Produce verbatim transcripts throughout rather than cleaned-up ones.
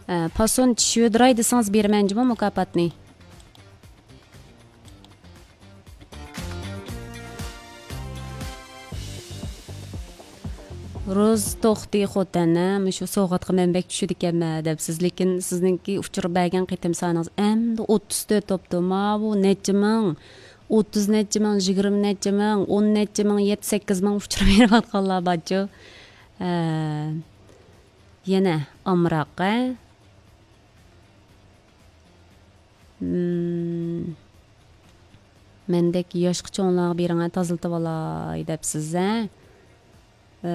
ئە، پاسون چىشىۋېدىراي دېسىڭىز بېرىمەن جۇمۇ مۇكاپاتنى. روز توختى خوتەن، ھە، مۇشۇ سوۋغاتقا مەن بەك چۈشىدىكەنمەن دەپسىز، لېكىن سىزنىڭكى ئۇچۇر بەرگەن قېتىم سانىڭىز ئەمدى ئوتتۇز تۆت بوپتۇ. ماۋۇ نەچچە مىڭ، ئوتتۇز نەچچە مىڭ، يىگىرمە نەچچە مىڭ، ئون نەچچە مىڭ، يەتتە سەككىز مىڭ ئۇچۇر بېرىۋاتقانلار بارچۇ. ھە. يەنە ئامراق، ھە؟ مم. مەندەك ياشقا چوڭلارغا بېرىڭە، تازىلىتىۋالاي دەپسىز، ھە؟ ئە،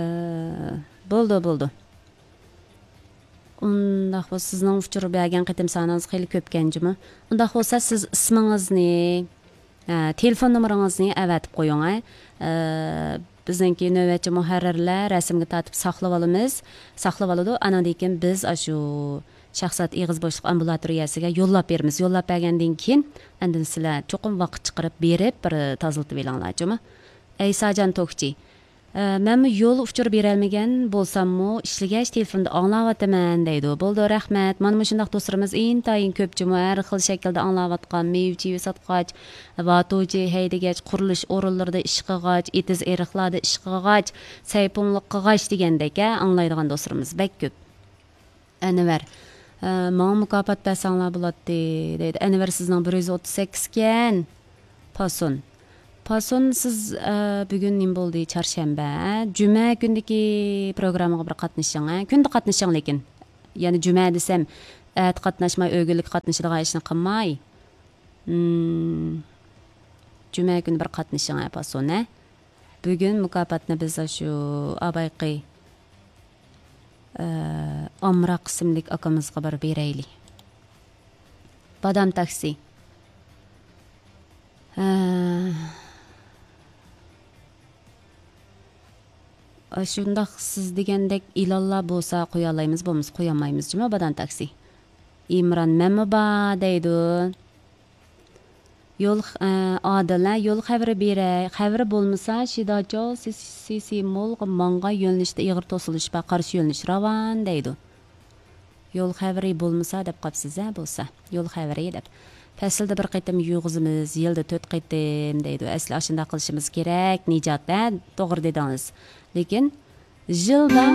بولدى، بولدى. ئۇنداق بولسا، سىزنىڭ ئۇچۇر بەرگەن قېتىم سانىڭىز خېلى كۆپكەن جۇمۇ. ئۇنداق بولسا، سىز ئىسمىڭىزنى، ئە، تېلېفون نومۇرىڭىزنى ئەۋەتىپ قويۇڭ، ھە. ئە، بىزنىڭكى نۆۋەتچى مۇھەررىرلەر رەسىمگە تارتىپ ساقلىۋالىمىز، ساقلىۋالىدۇ. ئانىڭدىن كېيىن بىز ئاشۇ شاھزات ئېغىز بوشلۇق ئامبۇلاتورىيەسىگە يوللاپ بېرىمىز. يوللاپ بەرگەندىن كېيىن، ئاندىن سىلەر چوقۇم ۋاقىت چىقىرىپ بېرىپ، بىر تازىلىتىۋېلىڭلار جۇمۇ. ئەيساجان توكچى. ئە، مەنمۇ يول ئۇچۇر بېرەلمىگەن بولساممۇ، ئىشلىگەچ تېلېفوندا ئاڭلاۋاتىمەن دەيدۇ. بولدى، رەھمەت. مانا مۇشۇنداق دوستلىرىمىز ئىنتايىن كۆپ جۇمۇ. ھەر خىل شەكىلدە ئاڭلاۋاتقان، مېۋە-چېۋە ساتقاچ، ۋاتۇچى ھەيدىگەچ، قۇرۇلۇش ئورۇنلىرىدا ئىش قىلغاچ، ئېتىز-ئېرىقلاردا ئىش قىلغاچ، سەيپۇڭلۇق قىلغاچ دېگەندەك، ھە، ئاڭلايدىغان دوستلىرىمىز بەك كۆپ. ئەنۋەر، ئە، ماڭا مۇكاپات بەرسەڭلار بولاتتى، دەيدۇ. ئەنۋەر، سىزنىڭ بىر يۈز ئوتتۇز سەككىز ئىكەن. پاسون. پاسون، سىز، ئە، بۈگۈن نېمە بولدى؟ چارشەنبە، ھە؟ جۈمە كۈندىكى پروگراممىغا بىر قاتنىشىڭ، ھە؟ كۈندە قاتنىشىڭ، لېكىن. يەنى جۈمە دېسەم، ئەتە قاتناشماي، ئۆگۈنلۈك قاتنىشىدىغان ئىشنى قىلماي. مم. جۈمە كۈنى بىر قاتنىشىڭ، ھە، پاسون، ھە؟ بۈگۈن مۇكاپاتنى بىز ئاشۇ ئابايقى، ئە، ئامراق ئىسىملىك ئاكىمىزغا بىر بېرەيلى. بادام تاكسى. ھە. ئاشۇنداق سىز دېگەندەك ئېلانلار بولسا قويالايمىز، بولمىسا قويالمايمىز جۇمۇ، بادام تاكسى. ئىمران، مەنمۇ بار دەيدۇ. يول خ-، ئە، ئادىل، ھە، يول خەۋىرى بېرەي. خەۋىرى بولمىسا، شىداچو سىسىمولغا ماڭغان يۆنىلىشتە ئېغىر توسۇلۇش بار، قارشى يۆنىلىش راۋان دەيدۇ. يول خەۋىرى بولمىسا دەپ قاپسىز، ھە، بولسا. يول خەۋىرى دەپ. پەسىلدە بىر قېتىم يۇغۇزىمىز، يىلدا تۆت قېتىم دەيدۇ. ئەسلى ئاشۇنداق قىلىشىمىز كېرەك، نىجات، ھە، توغرا دېدىڭىز. لېكىن يىلدا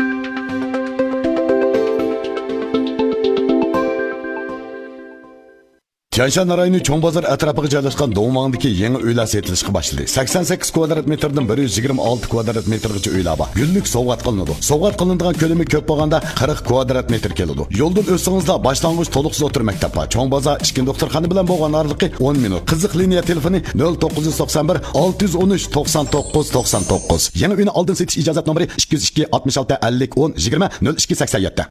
تيەنشان رايونى چوڭ بازار ئەتراپىغا جايلاشقان دوڭماڭدىكى يېڭى ئۆيلەر سېتىلىشقا باشلىدى. سەكسەن سەككىز كۋادرات مېتىردىن بىر يۈز يىگىرمە ئالتە كۋادرات مېتىرغىچە ئۆيلەر بار. گۈللۈك سوۋغات قىلىنىدۇ. سوۋغات قىلىنىدىغان كۆلىمى كۆپ بولغاندا قىرىق كۋادرات مېتىر كېلىدۇ. يولدىن ئۆتسىڭىزلا باشلانغۇچ تولۇقسىز ئوتتۇرا مەكتەپ بار. چوڭ بازار ئىككىنچى دوختۇرخانا بىلەن بولغان ئارىلىقى ئون مىنۇت. قىزىق لىنىيە تېلېفونى نۆل توققۇز يۈز توقسان بىر، ئالتە يۈز ئون ئۈچ، توقسان توققۇز، توقسان توققۇز. يېڭى ئۆينى ئالدىن سېتىش ئىجازەت نومۇرى ئىككى يۈز ئىككى، ئاتمىش ئالتە، ئەللىك، ئون، يىگىرمە، نۆل ئىككى، سەكسەن يەتتە.